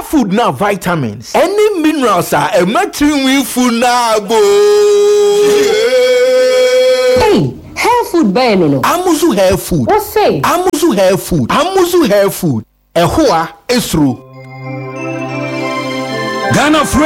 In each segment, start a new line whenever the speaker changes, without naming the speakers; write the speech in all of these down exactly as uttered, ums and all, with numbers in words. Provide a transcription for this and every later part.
Hair food na vitamins ɛne minerals a ɛma tirinwi fu naa boo.
Hey, hair food bɛyɛ no no.
Amuzu Hair Food.
Wo se?
Amuzu Hair Food, Amuzu Hair Food, ɛhoa esuro.
Ghana fure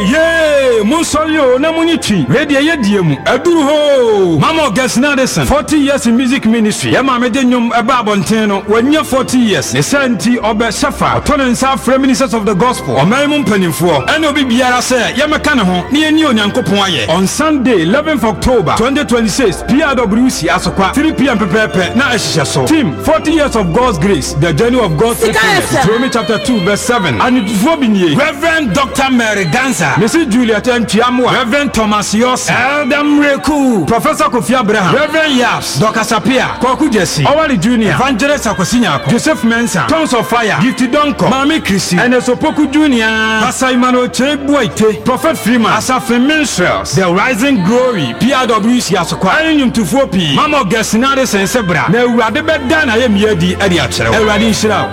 ye, monsɔre o na monyi twi wei deɛ yɛdie mu aduru hoo. Mama Augustine Addison, forty years in music ministry. Yɛ maame de nnwom ɛba abɔnten no, wanya forty years. Ne sɛ nti ɔbɛ hyɛfa ɔtɔ ne nsa afrɛ ministers of the gospel, ɔman mu mpanimfoɔ ɛne obi biara sɛ yɛmɛka ne ho ne yɛni Onyankopɔn ayɛ. On Sunday, eleventh October twenty twenty-six, P R W C Asokwa, three p m pɛpɛɛpɛ na ɛhyehyɛ so. Team forty years of God's grace, the journey of God's faithfulness. Deuteronomy chapter two verse seven. Anitufoɔ bi nie: Reverend Doctor Mary Gansa, Missus Juliet Ntuamoa, Reverend Thomas Yossi, Elder Mreku, Professor Kofi Abraham, Reverend Yaps, Doctor Sapia, Kwaku Jesse, Owali Junior, Evangelist Akwasi Nyako, Joseph Mensah, Tongues of Fire, Gifty Donko, Maame Chrissy, Ernest Opoku Junior, Pastor Emmanuel Che Buaite, Prophet Freeman, Asafin Minstrels, The Rising Glory, P R W C Asokwa, ɛne nnwomtofoɔ pii. Mama Augustine Addison sɛ bra na Awurade bɛda na ayɛ mmea di ɛde akyerɛ wo. Awurade nhyira wo.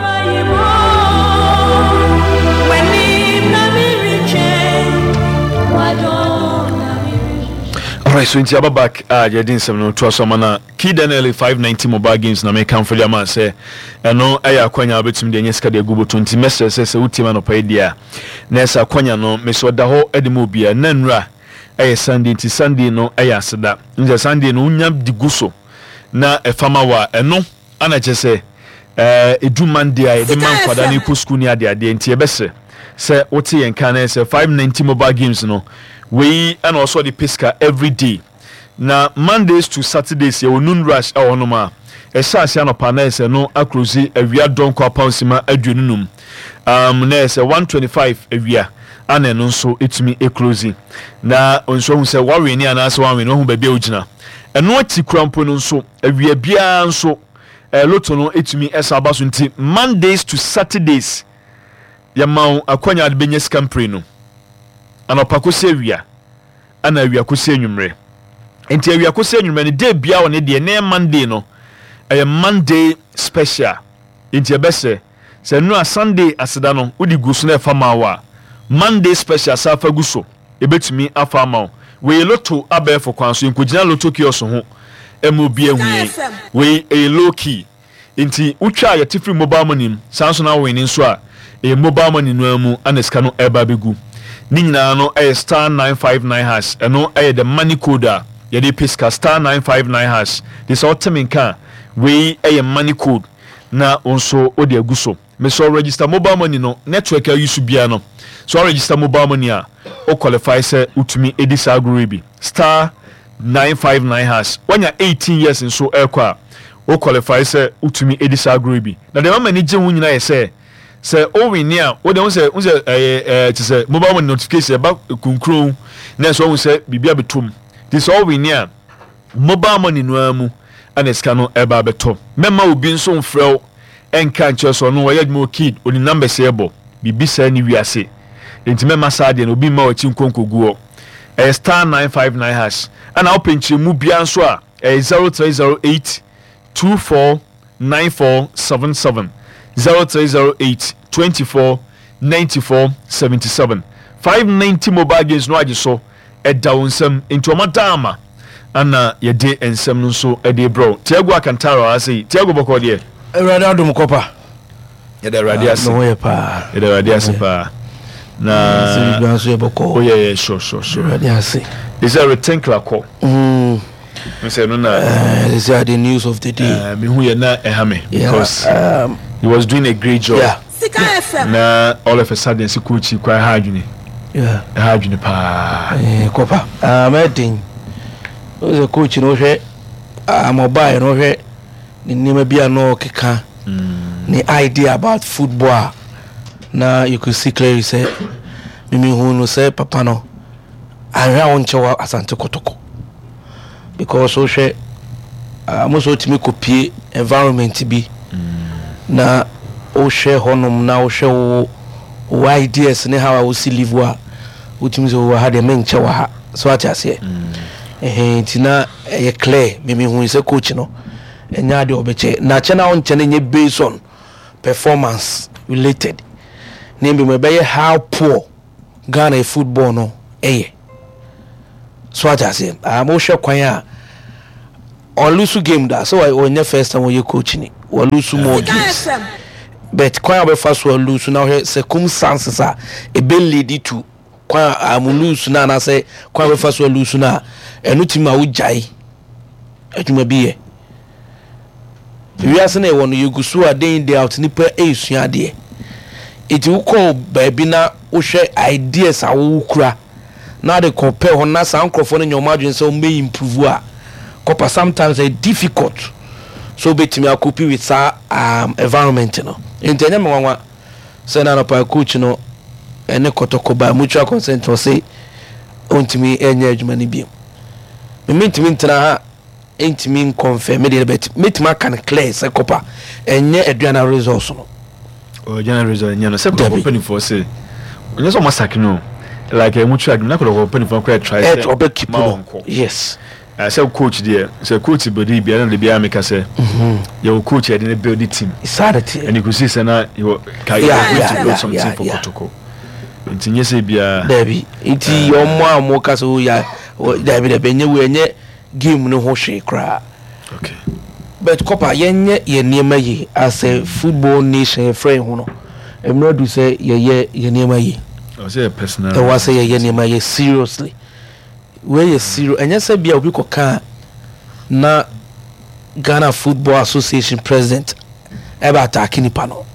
W'anim na meretwɛn, w'adom na merehwehwɛ.
Alright, so nti aba back a yɛde nsɛm no toa so ama na Key Daniel five ninety mobile games na mekamfo de ama sɛ ɛno ɛyɛ akwanya a wobɛtumi de anya sika de agu bɔtɔ. Nti mɛsrɛ sɛ sɛ wotie ma anɔpa yi deɛ a, na ɛsɛ akwanya no mesɛ ɔda hɔ de ma obiara. Na nnura ɛyɛ Sunday, nti Sunday no ɛyɛ aseda. Nti Sunday no wonya de gu so na ɛfa ma wɔ a, ɛno ana kyɛ sɛ ɛɛ edu Monday a yɛde ma nkwadaa no kɔ sukuu ne adeadeɛ. Nti yɛbɛsrɛ sɛ wote yɛn kan na sɛ five ninety mobile games no wei ɛna ɔsɔ de pɛ sika every day. Na Mondays to Saturdays yɛwɔ noon rush ɛwɔ hɔnom a ɛhyɛ ase anɔpa na ɛsɛ no akorosi awia dɔnkɔ apansima aduonu num um, na ɛsɛ one twenty five awia ana ɛno nso etumi eclose. Na nso ohun sɛ wawene anaasɛ wawene, ohun baabi a ogyina. Ɛno akyi kura mpo no nso, awia biara nso ɛɛ lotto no etumi ɛsa aba so. Nti Mondays to Saturdays yɛma wo akwanya de bɛnya sika mpire no anɔpa kɔsi awia ana awia kɔsi anwummerɛ. Nti awia kɔsi anwummerɛ no, day biara wɔ ne deɛ. Ne Monday no ɛyɛ Monday special. Nti ɛbɛsɛ sɛ nnura Sunday aseda no wode gu so na ɛfa ma wo a, Monday special sa afa gu so, ɛbɛtumi afa ama wo. Wei lotto abɛɛfo kwan so, yɛnkɔgyina lotto kiosk ho ɛma obi ahu yɛn. Wei ɛyɛ low key, nti wotwa a yɛte firi mobile money mu saa nso na awene nso a ɛyɛ mobile money no ara mu ana sika no ɛba abɛgu. Ne nyinaa no ɛyɛ star nine five nine hash. Ɛno ɛyɛ the money code a yɛde pɛ sika, star nine five nine hash. De sɛ ɔte me nka a, wei ɛyɛ money code na wo nso wode agu so. Mesɛ register mobile money no, network a use biara no so, register mobile money a wo qualify sɛ wotumi edi saa agorɔ yi bi. Star nine five nine hash. Wanya eighteen years nso ɛrekɔ a, wo qualify sɛ wotumi edi saa agorɔ yi bi. Na deɛ mama ani gye ho nyinaa yɛ sɛ sɛ owini a, wode ho sɛ ho sɛ ɛyɛ ɛɛ te sɛ mobile money notification ɛba kunkun na ɛsɛ ɔho sɛ biribi abɛtom. Te sɛ owini a, mobile money no ara mu ɛna sika no ɛba abɛtɔ. Mɛma obi nso mfrɛ wo ɛnka nkyerɛ sɛ ɔno ɔyɛ adwuma wɔ Kid, oni numbers ɛbɔ biribi saa ne wiase. Nti mɛma saa deɛ no obi mma w'akyi nkonkogu hɔ. Ɛyɛ star nine five nine hash. Ɛna wopɛ nkyerɛmu biara nso a, ɛyɛ zero three zero eight two four nine four seven seven, zero three zero eight twenty-four ninety-four seventy-seven. five ninety mobile games no agye so ɛda wo nsam. Nti ɔma da ama ana yɛde nsɛm no nso ɛde brɛ Tiago Akantara ase yi. Tiago, bɔkɔ deɛ?
Awurade adom, kɔpa.
Yɛde Awurade ase.
Me ho yɛ paa.
Yɛde Awurade ase paa. Na
sɛ biribiara nso yɛ bɔkɔɔ.
Woyɛ yɛ sure sure sure.
Awurade ase.
Ɛsɛ retinkla kɔ
Mm.
sɛ no na
Uh, this are the news of the day.
uh, mehu yɛ na ɛha me
Yeah,
because
um,
he was doing a great job.
Yeah.
Sika F M.
Na all of a sudden sɛ coach yi kɔ, ɛha adwene.
Yeah.
Ɛha adwene paa.
Eh, kɔpa um, ɛden sɛ coach no, wohwɛ um, ɔbaeɛ no, wohwɛ ne nneɛma bi a na ɔkeka, ne idea about football a, na you could see clearly sɛ mimihu no sɛ papa no ahwɛ a wonkyɛ wɔ Asante Kɔtɔkɔ, because wohwɛ uh, mo sɛ wotumi kɔpie environment bi na wohwɛ hɔnom na wohwɛ wo wo ideas ne how a wosi live a, wotumi sɛ wowɔ ha deɛ, menkyɛ wɔ ha so, ate aseɛ? Ɛhɛn, nti na ɛyɛ clear, mimihu sɛ coach no ɛnyɛ adeɛ ɔbɛkyɛ na kyɛ na wonkyɛ no nyɛ based on performance related. Na mmom ɛbɛyɛ how poor Ghana football no ɛyɛ. So ate aseɛ, um, wohwɛ kwan a ɔlose game da sɛ ɔnyɛ first time ɔyɛ coach ni, wɔlose more games, but kwan a wɔbɛfa so ɔlose na ɔhwɛ circumstances a ebe lead to kwan a mo lose na anaasɛ kwan a wɔbɛfa so ɔlose na ɛno ti ma wogyae adwuma bi yɛ. Wiase na ɛwɔ no, yɛgu so a day in, day out nipa ɛresua adeɛ. Eti wokɔ baabi na wohwɛ ideas a wowokura na de compare hɔ na saa nkurɔfoɔ no nyɛ ɔmo adwene sɛ ɔmo bɛ improve a, kɔpa sometimes ɛyɛ difficult so wobɛtumi acope with saa um, environment no. Nti ɛnyɛ me nwanwa sɛ na anɔpa coach no ɛne Kɔtɔkɔ by mutual consent ɔse ɔntumi ɛnyɛ adwuma no biom. Mentumi ntena ha ntumi nconfirm me deɛ, but mɛtumi aka no clear sɛ kɔpa ɛnyɛ Aduana results no.
Aduana result nyɛ no sɛ Kɔtɔkɔ mpanimfoɔ sɛ ɔnyɛ sɛ ɔmo asake no, like ɛmu twa adwuma na Kɔtɔkɔ mpanimfoɔ koraa try sɛ
ɔbɛ keep no, yes.
Sɛ coach deɛ, sɛ coach bɛdi biara na de biara meka sɛ yɛwɔ coach yɛde ne build team.
Saa de teɛ.
Ɛne kò si sɛ na yɛwɔ ka yɛ to build something for Kɔtɔkɔ, nti nyɛ sɛ biara.
Dabi, nti ɔmo a ɔmo ka sɛ o ya, dabi dabi, ɛnyɛ wo, ɛnyɛ game no ho hwee koraa.
Okay.
But kɔpa yɛnyɛ yɛn nneɛma yie as a football nation. Yɛfrɛ yɛn ho no, mmerɛ du sɛ yɛyɛ yɛn nneɛma yie.
Ɔsɛ yɛ personal.
Ɛwɔ sɛ yɛyɛ nneɛma yie seriously. Wei yɛ serious, ɛnyɛ sɛ bia obi kɔka na Ghana Football Association president ɛbɛ attack nipa no.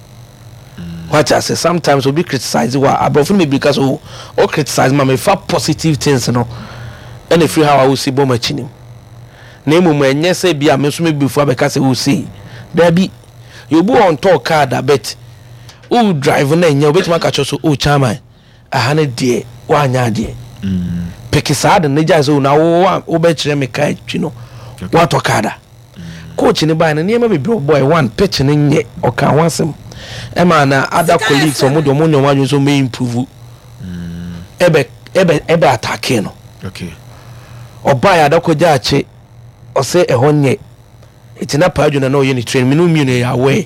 Wate ase? Sometimes obi criticize wa, aborɔfo no bebree ka so o criticize ma mefa positive things no ɛna efiri ha a wosi bɔ m'akyi nim. Na mmom ɛnyɛ sɛ bi a me nso mebufu abɛka sɛ wosi daabi. Yɛobi wɔ ntɔɔ car da, but wo drive na ɛnyɛ wobɛtumi aka kyerɛ so o, chairman, aha no deɛ woanyɛ adeɛ pɛki saa de ne gya sɛ na wo wobɛkyerɛ me car twi no, woatɔ car da. Coach ne baa no, nneɛma bebree ɔbɔɛ. One, pitch no nyɛ, ɔka ho asɛm ɛma na other colleagues ɔmo de ɔmo nyɛ ɔmo adwene sɛ ɔmo improve ɛbɛ ɛbɛ ɛbɛ attack no.
Okay.
Ɔbaa yɛ Adakɔgya akye, ɔsɛ ɛhɔ nyɛ, eti na paa adwene na ɔyɛ ne train mene mmienu yɛ aware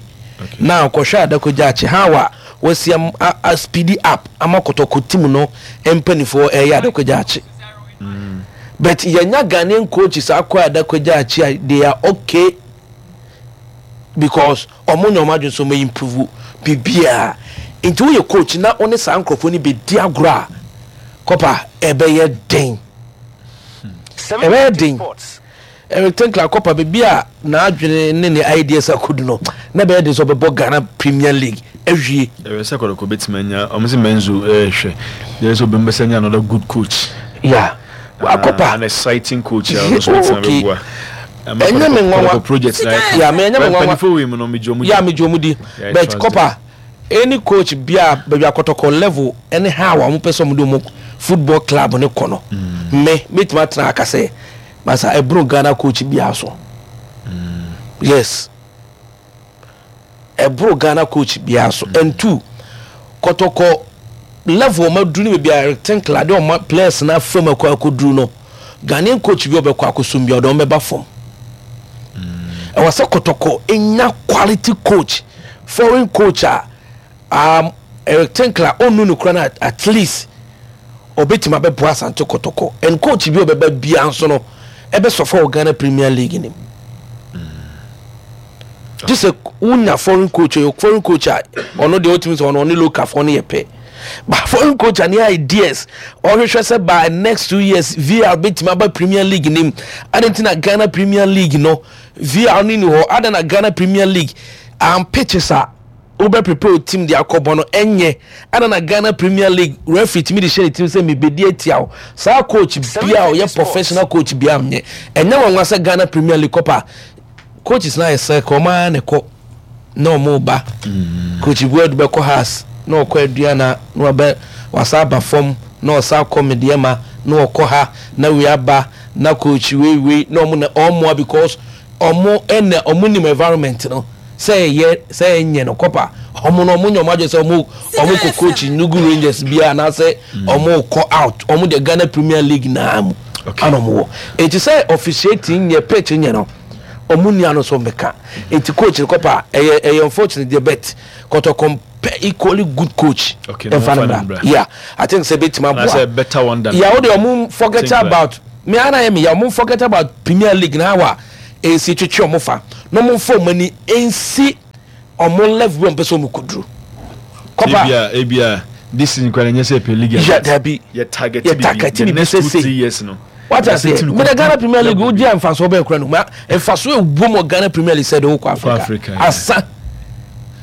na ɔkɔhwɛ Adakɔgya akye how a wɔasi am a a speedy up ama Kɔtɔkɔ team no mpanimfoɔ ɛyɛ Adakɔgya akye. But yɛnya Ghanaian coaches akɔ Adakɔgya akye a, they are okay because ɔmo nyɛ ɔmo adwene sɛ ɔmo improve biribiara. Nti woyɛ coach na wo ne saa nkurɔfoɔ no bɛdi agorɔ a, kɔpa ɛbɛyɛ den, ɛbɛyɛ den. Eric Tinkler, kɔpa baabi a n'adwene ne ne ideas akodu no, na ɛbɛyɛ den sɛ ɔbɛbɔ Ghana Premier League awie.
Ɛwɛ sɛ Kɔtɔkɔ bɛtumi anya ɔmo sɛ Menzo ɛɛhwɛ deɛ sɛ obi mbɛsɛ nya another good coach.
Yeah, akɔpa
an exciting coach a ɔno nso bɛtumi
okay.
abɛboa.
Ɛnyɛ me nwanwa.
Kɔtɔkɔ project na
Yeah, me ɛnyɛ me nwanwa.
Mpanyinfoɔ wei mu no, megye ɔmo di.
Yeah, megye ɔmo di.
Yeah, I
but
trust.
Kɔpa any coach bia baabi akɔtɔkɔ level ɛne how a wɔn pɛ sɛ wɔn de wɔn football club ne kɔ no, me metumi atena aka sɛ masa ɛboro Ghana coach bia so. Yes, ɛboro Ghana coach bia so. And two, Kɔtɔkɔ level ɔmo aduru ne baabi a Eric Tinkler de ɔmo players na fam akɔ akɔduru no, Ghanaian coach bi a ɔbɛkɔ akɔsom bi a ɔde ɔmo bɛba fam. Ɛwɔ sɛ Kɔtɔkɔ enya quality coach, foreign coach a um, Eric Tinkler ɔnnu no kura no, at least ɔbɛtumi abɛboa Asante Kɔtɔkɔ. And coach bi a ɔbɛba bia nso no ɛbɛsɔfo wɔ Ghana Premier League nim gye sɛ wonya foreign coach. Ɔyɛ foreign coach a ɔno deɛ ɔtumi sɛ ɔno ɔne local foɔ no yɛ pɛ, but foreign coach a ne ideas ɔhwehwɛ sɛ by next two years V R bɛtumi aba Premier League nim. Ade nti na Ghana Premier League no V R no ni hɔ ada na Ghana Premier League um, pitches a wobɛ prepare o team de akɔbɔ no ɛnyɛ ada na Ghana Premier League referee tumi de hyɛ ne team sɛ mebɛdi atia wo. Saa coach bia a ɔyɛ professional coach bia nyɛ. Ɛnyɛ wɔn nwa sɛ Ghana Premier League kɔpa coaches na ayɛ sɛ kɔ ɔmo ara ne kɔ na ɔmo ba. Coach Buadu bɛkɔ Hearts na ɔkɔ Aduana na wabɛ wasa aba fam na ɔsa akɔ Medeama na ɔkɔ ha na wei aba na coach wei wei na ɔmo na ɔmoa because ɔmo ɛna ɔmo nim environment no sɛ ɛyɛ sɛ ɛnyɛ no. Kɔpa ɔmo no ɔmo nyɛ ɔmo adwene sɛ ɔmo ɔmo kɔ coach Enugu Rangers bia anaasɛ ɔmo kɔ out. Ɔmo de Ghana Premier League naa mu ana ɔmo wɔ. Eti sɛ officiating nyɛ, pitch nyɛ no, ɔmo nia no so mbɛka. Eti coach no, kɔpa ɛyɛ ɛyɛ unfortunate deɛ, but Kɔtɔkɔ mpɛ equally good coach.
Okay,
ɛnfa
na
no
ɔmfa no
bra.
mbra.
Yeah, I think sɛ ebetumi
Anaasɛ
aboa.
Better one than
Yeah, o de ɔmo forget
Tinkler.
about me ana yɛ mi ya, ɔmo forget about Premier League na awa esi twitwi ɔmo fa na ɔmo nfa ɔmo ani nsi ɔmo level bi ɔmo pɛ sɛ ɔmo koduru kɔpa.
Ebia ebia this season kwan nyɛ sɛ pɛ league.
Yeah, dabi.
Yɛ target.
Yɛ target
the
bibi
next two
sese.
three years no.
Wata se mede Ghana Premier League o di a, nfaso bɛɛ kura no ma nfaso ewu mu Ghana Premier League sɛ de o kɔ Africa.
Africa, yeah.
Asa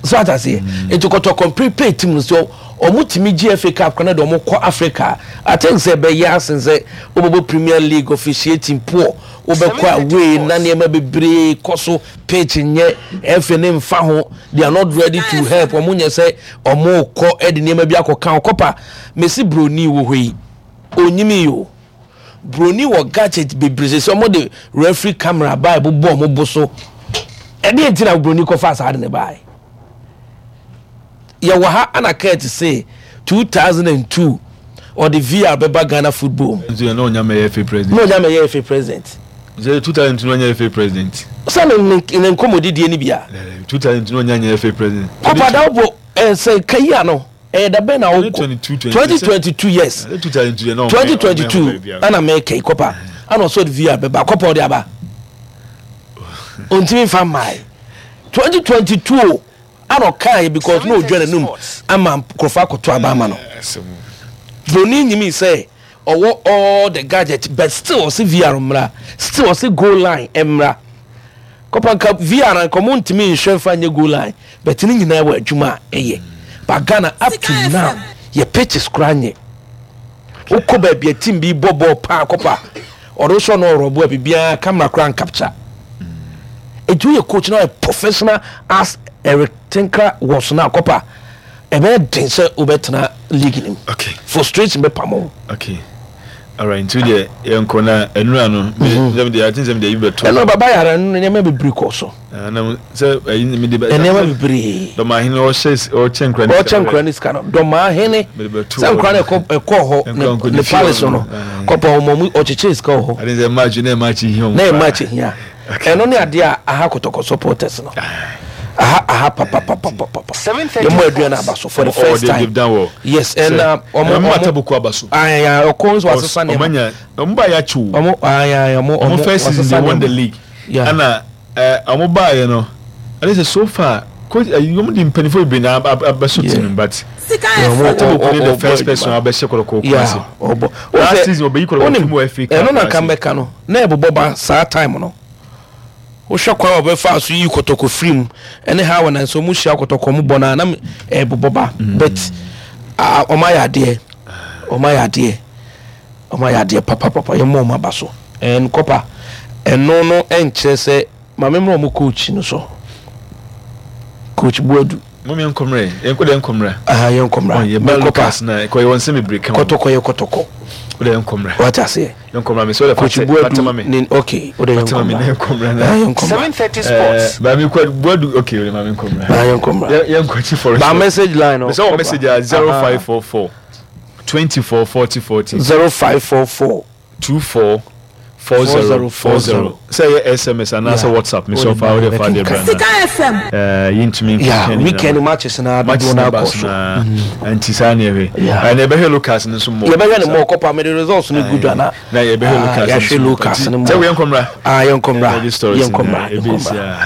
so ata se nti Kɔtɔkɔ prepare team no so ɔmo tumi gye F A Cup kora na de ɔmo kɔ Africa. I think sɛ ɛbɛyɛ asen sɛ wobɛbɔ Premier League, officiating poor, wobɛkɔ away na nneɛma bebree kɔ so, pitch nyɛ F A ne nfa ho, they are not ready to help. Ɔmo nyɛ sɛ ɔmo kɔ ɛde nneɛma bi akɔka ɔkɔpa mesi broni wɔ hɔ yi onyimi yi o. Broni wɔ gadget bebree sɛ ɔmo de referee camera baa ɛbobɔ ɔmo bo so. Ɛdeɛ nti na broni kɔfa saa de ne baa yɛwɔ ha ana Kurt say two thousand and two ɔde V A R bɛba Ghana football mu.
Nso yɛn na ɔnya mɛyɛ F A president.
Na ɔnya mɛyɛ F A president.
Sɛ two thousand two na ɔnya F A president.
Sɛ ne ne ne nkɔmɔdidie ni bia.
Two thousand two na ɔnya nyɛ F A president.
Papa dawbo ɛsɛ kayi ano ɛyɛ dabɛn na ɔkɔ?
twenty twenty-two.
Twenty twenty-two, yes.
Two thousand two yɛ na ɔmɛ
Twenty twenty-two ɛna mɛkɛ kɔpa ɛna ɔsɔ de V A R bɛba kɔpa, ɔde aba, ontimi nfa mmaa twenty twenty-two o, ɛna ɔkaa yɛ because na odwa n'anum ama nkurɔfoɔ akɔto aba ama no. Broni nyimi sɛ ɔwɔ all the gadget, but still ɔsi V A R mmra, still ɔsi goal line mmra. Kɔpa nka V A R nka ɔmo ntumi nhwɛ nfa nye goal line, but ne nyinaa wɔ adwuma a ɛyɛ. But Ghana up to now yɛ pitches kora nyɛ. Wokɔ baabi a team bi bɔ bɔɔl paa kɔpa, ɔde sɔ no ɔrɔbo a biribiara camera kora ncapture. Etu yɛ coach na ɔyɛ professional as Eric Tinkler was na kɔpa, ɛbɛyɛ den sɛ wobɛtena league nim.
Okay.
Frustration bɛ pam o.
Okay, alright, nti deɛ yɛnkɔ na ɛnura no sɛm deɛ ati sɛm deɛ yi bɛto.
Ɛno baba yàrá no, nneɛma bebree kɔ so.
Na sɛ ɛyi mi de bɛ.
Nneɛma bebree.
Dɔmahene ɔhyɛ ɔkyɛ nkura.
Ɔkyɛ nkura ne sika no, dɔmahene sɛ nkura no ɛkɔ ɛkɔ hɔ ne ne palace no kɔpɔ ɔmɔ mu ɔkyekyere sika wɔ hɔ.
Adi sɛ match na match hia ɔmo.
Na yɛ match hia. Ɛno ne adeɛ a aha Kɔtɔkɔ supporters no aha aha papapapapapa. Yɛmɔ aduane aba so for the first time, yes, ɛna
ɔmo ɔmo atabuku aba so.
Ayaya ɔkɔ nso asesa
nneɛma. Ɔmo anya ɔmo ba yɛ akyi o.
Ɔmo ayaya ɔmo
ɔmo first season they won the league. Ɛna ɛɛ ɔmo ba yɛ no ɛne sɛ so far coach ɛyi ɔmo di mpanyinfo bebree na abɛso team, but Atabuku ne the first person abɛhyɛ Kɔtɔkɔ Kumasi.
Ɔbɔ
last season ɔbɛyi Kɔtɔkɔ fi mu F A Cup.
Ɛno na nka mbɛka no na ɛbobɔ ba saa time no, wohwɛ kwan a wɔbɛfa so yi Kɔtɔkɔ firi mu ɛne ha wɔ nanso ɔmo hyia Kɔtɔkɔ mu bɔ na nam ɛbobɔ ba, but ɔmo ayɛ adeɛ, ɔmo ayɛ adeɛ, ɔmo ayɛ adeɛ papapapa. Yɛ mo ɔmo aba so ɛn kɔpa ɛno no ɛnkyerɛ sɛ maame mmerɛ ɔmo coach no so, Coach Buadu.
Mo mi nkɔmrɛ yɛn kɔ de nkɔmrɛ.
Aha yɛn nkɔmrɛ.
Yɛ ba Lucas na kɔ yɛ wɔn nsɛm bebree kama.
Kɔtɔkɔ yɛ Kɔtɔkɔ.
O de yɛn nkɔmrɛ.
Wate aseɛ.
Yɛn nkɔmrɛ mi sɛ o de
Coach Buadu ne okay, o de yɛn nkɔmrɛ.
Nkɔmrɛ
na yɛn nkɔmrɛ.
Seven thirty Sports.
Baami kɔ Buadu, okay, o de maami nkɔmrɛ.
Na yɛn nkɔmrɛ.
Yɛn kɔ chi forest.
Ba message line no.
Sɛ wɔ message a zero five four four twenty four forty forty.
Zero five four four.
Two four four zero four zero, sɛ ɛyɛ S M S anaasɛ WhatsApp mi sɛ ɔfa ɔde fa de bra.
Sika F M.
Ɛɛ yɛntumi.
Yeah, weekend matches na dodoɔ na akɔ so.
Nti saa ne yɛhwɛ ɛna yɛbɛhwɛ locals no nso mɔ.
Yɛbɛhwɛ ne mɔ kɔpa mɛ de results no gu dwa na.
Na yɛbɛhwɛ locals.
Yɛahwɛ locals no mɔ.
Sɛ yɛn nkɔmra.
Ah, yɛn nkɔmra, yɛn nkɔmra, yɛn nkɔmra.